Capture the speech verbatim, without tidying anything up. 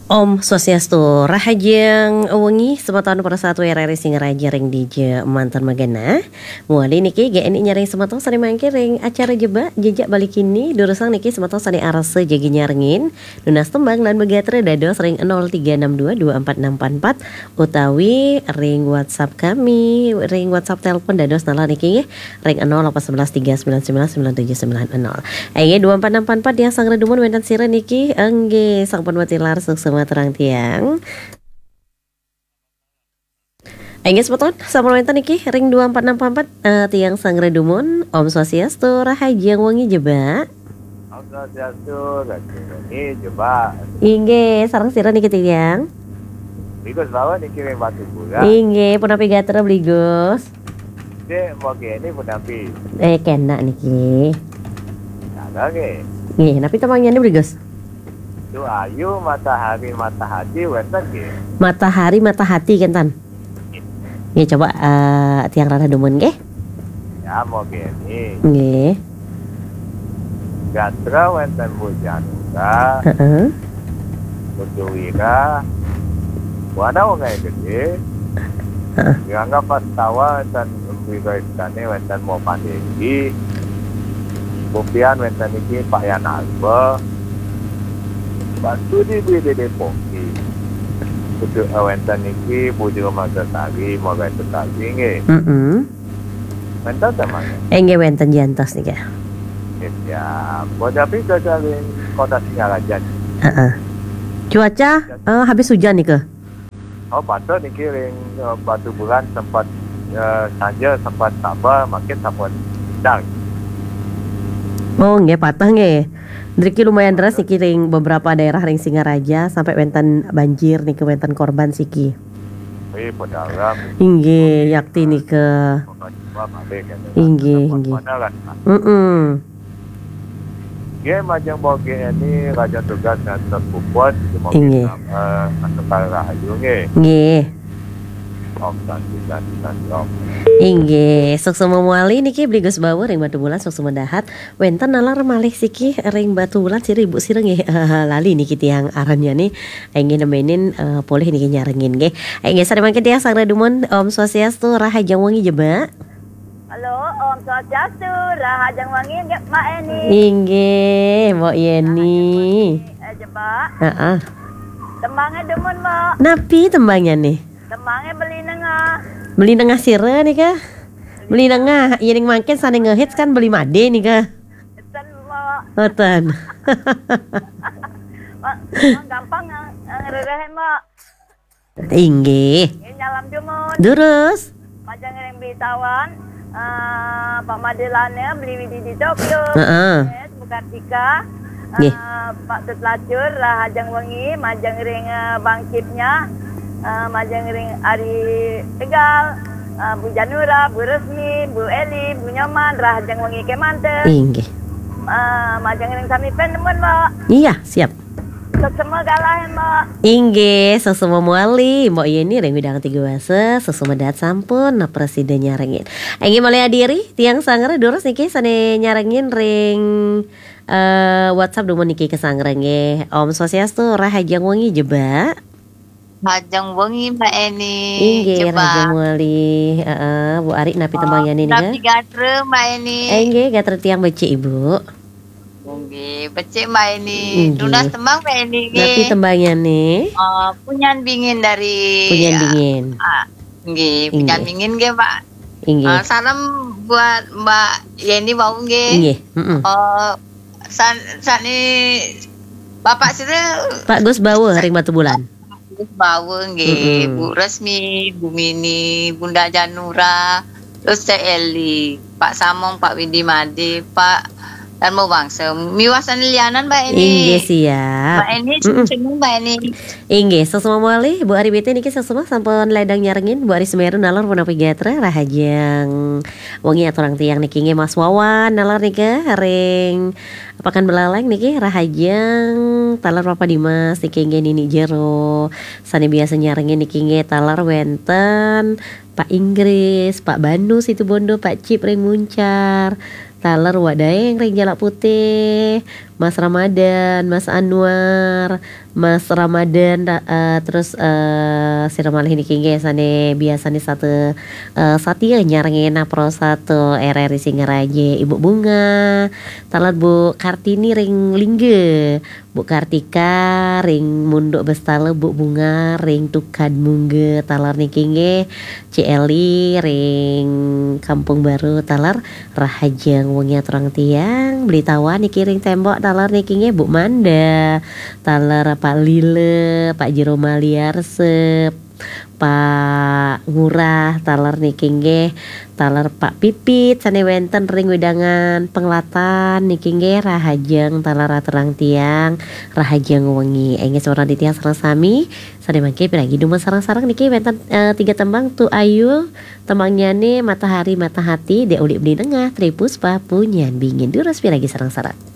Om Swastiastu, rahajeng wengi semeton para satu R R I Singaraja ring dija manten magena. Mawali niki G N I nyarengin semeton sane mangkin ring acara Jebak Jejak Bali Kini, durusang niki semeton sane arsa jagi nyarengin, nunas tembang lan magatra dados ring nol tiga enam dua dua empat enam empat empat utawi ring WhatsApp kami, ring WhatsApp telepon dados nalar niki nggih, ring nol delapan sebelas tiga sembilan sembilan sembilan tujuh sembilan nol. Inggih, dua empat enam empat empat yang sanggra dumun wenten sira niki. Inggih, sampun matilar suksma terang tiang. Inggih, semeton, sampun wenten niki ring dua empat enam empat empat, eh, tiang sanggra dumun. Om Swastiastu, rahajeng wengi Jebak. Om Swastiastu, rahajeng wengi Jebak. Inggih, sareng sira niki tiang? Bli Gus Bawa niki ring Batu Bulan. Inggih, punapi gatra Bli Gus? Cek, moge ini punapi? Eh, kena niki. Ada nggih. Nggih, napi tembangnyané, Bli Gus? Tu ayu matahari matahati wenten nggih. Matahari matahati kenten. Nggih, coba, eh, tiang rarah dumun nggih. Ya, moge ini. Nggih. Gatra wenten Bu Janura, heeh, Bu Juwira, Bu Ana Wengai Gede, heeh, Rangga Pastawa wenten Bli Gus Istane wenten Mo Pandegi, Bu Pian wenten niki Pak Yan Alba, Pak Sudi Bli Dede Pongki, Bu Ju-, eh, wenten niki Bu Juru Master Tari, Mo Gai Sutari nggih. Mm-mm. Wenten tembangnyané? Inggih wenten jantos nika. Nggih, siap. Punapi cuaca ring Kota Singaraja? Heeh. Cuaca, eh, habis hujan nika. Oh, patut niki ring, eh, Batu Bulan sempat, eh, sanja sempat sabar, makin sampun udan. Oh, nggih patut nggih. Niki lumayan deras niki ring beberapa daerah ring Singaraja sampai wenten banjir niki, wenten korban siki. Wih, pedagang. Inggih, yakti nika. Inggih, inggih. Mm-mm. Nggih, majeng bogi ini raja tugas ngantos puput, semoga, inggih, eh, antuk rahayu nggih. Nggih. Om Santi, Santi, Santi, Om. Inggih, suksma mawali niki Bli Gus Bawa ring Batu Bulan, suksma dahat. Wenten nalar malih siki ring Batu Bulan sira ibu sira nggih. Lali niki tiang arannya nih. Inggih nemenin, eh, polih niki nyarengin nggih. Inggih sare mangkin tiang sanggra dumun, Om Swastiastu, rahajeng wengi Jebak. Halo, Om Swastiastu, rahajeng wengi nggih, Mbak Eni. Inggih, Mbok Yeni. Rahajeng wengi, eh, Jebak. Heeh. Tembangnya dumun, Mbok. Napi tembangnya nih? Tembangnya Beli Nengah. Beli Nengah sira nika? Beli Nengah, iya ning mangkin sane ngehits kan Beli Made nika. Ten, Mbok. Oh, ten. Mbok, Mbok gampang nge-, ngererehin, Mbok. Inggih. Nggih, nyalam dumun. Durus. Majeng ring Bli Tawan, eh, Pak Made Lane, Beli Widi di Tokyo. Heeh. Yes, Bu Kartika. Nggih. Eh, Pak Tut Lacur, rahajeng wengi, majeng ring, eh, Bang Cipnya, eh, majeng ring Ari Tegal, eh, Bu Janura, Bu Resmi, Bu Eli, Bu Nyoman, rahajeng wengi kemanten. Inggih. Eh, majeng ring sami pen dumun, Mbok. Iya, siap. Suksma galah, Mbok. Inggih, suksma mawali, Mbok Yeni ring Widang Tiga Wasa, suksma dahat sampun, nah, prasida nyarengin. Inggih malih adiri, tiang sanggra durus niki sane nyarengin ring, eh, WhatsApp dumun niki kasanggra nggih. Om Swastiastu, rahajeng wengi Jebak. Rahajeng wengi, Mbak Eni. Inggih, Jebak. Rahajeng mawali. Heeh, Bu Ari napi, oh, tembangnya nih, napi nika? Gatra, Mbak Eni? Eh, inggih, gatra tiang becik, Ibu. Nggih, becik Mbak Eni. Nggih. Tunas tembang Mbak Eni nggih. Napi tembangnyane? Eh, Punyan Bingin dari, Punyan Bingin. Ah, nggih, Punyan Bingin nggih, Mbak. Inggih. Eh, salam buat Mbak Yeni wau nggih. Inggih, heeh. Eh, san-, sane Bapak sira Pak Gus Bawa ring Batu Bulan. Gus Bawa nggih, mm-mm. Bu Resmi, Bu Mini, Bunda Janura, terus Cek Eli, Pak Samong, Pak Widi Made, Pak Darmo Wangsa. Miwah sane lianan, Mbak Eni. Inggih, siap. Mbak Eni, mm-mm, sing-sing, Mbak Eni. Inggih, suksma mawali, Bu Ari B T niki suksma sampun ledang nyarengin, Bu Ari Semeru nalar punapi gatra, rahajeng wengi aturang tiang niki nggih Mas Wawan, nalar nika ring Pakan Belaleng niki rahajeng, taler Papa Dimas niki nggih Nini Jero. Sane biasa nyarengin niki nggih taler wenten Pak Inggris, Pak Banu Situbondo, Pak Cip ring Muncar. Taler Wak Daeng ring Jalak Putih, Mas Ramadan, Mas Anwar, Mas Ramadan, ra- eh, terus eh sira malih niki nggih sane biasane sate eh, satia nyarengena Pro satu R R I Singaraja, Ibu Bunga, taler Bu Kartini ring Lingga, Bu Kartika ring Munduk Bestala, Bu Bunga ring Tukad Mungga, taler niki nggih Ci Eli ring Kampung Baru, taler rahajeng wengi aturang tiang, Beli Tawan niki ring Tembok, taler niki nggih Bu Manda, taler Pak Lile, Pak Jero Maliarse, Pak Ngurah, taler niki nggih, taler Pak Pipit sane wenten ring wedangan Penglatan niki nggih, rahajeng taler aturang tiang, rahajeng wengi. Inggih semeton titiang sareng sami, sane mangke piragi dumun sareng-sareng niki wenten eh, tiga tembang Tu Ayu, tembangnyane Matahari Matahati, Dek Ulik Beli Nengah, Tri Puspa, Punyan Bingin. Durus piragi sareng-sareng.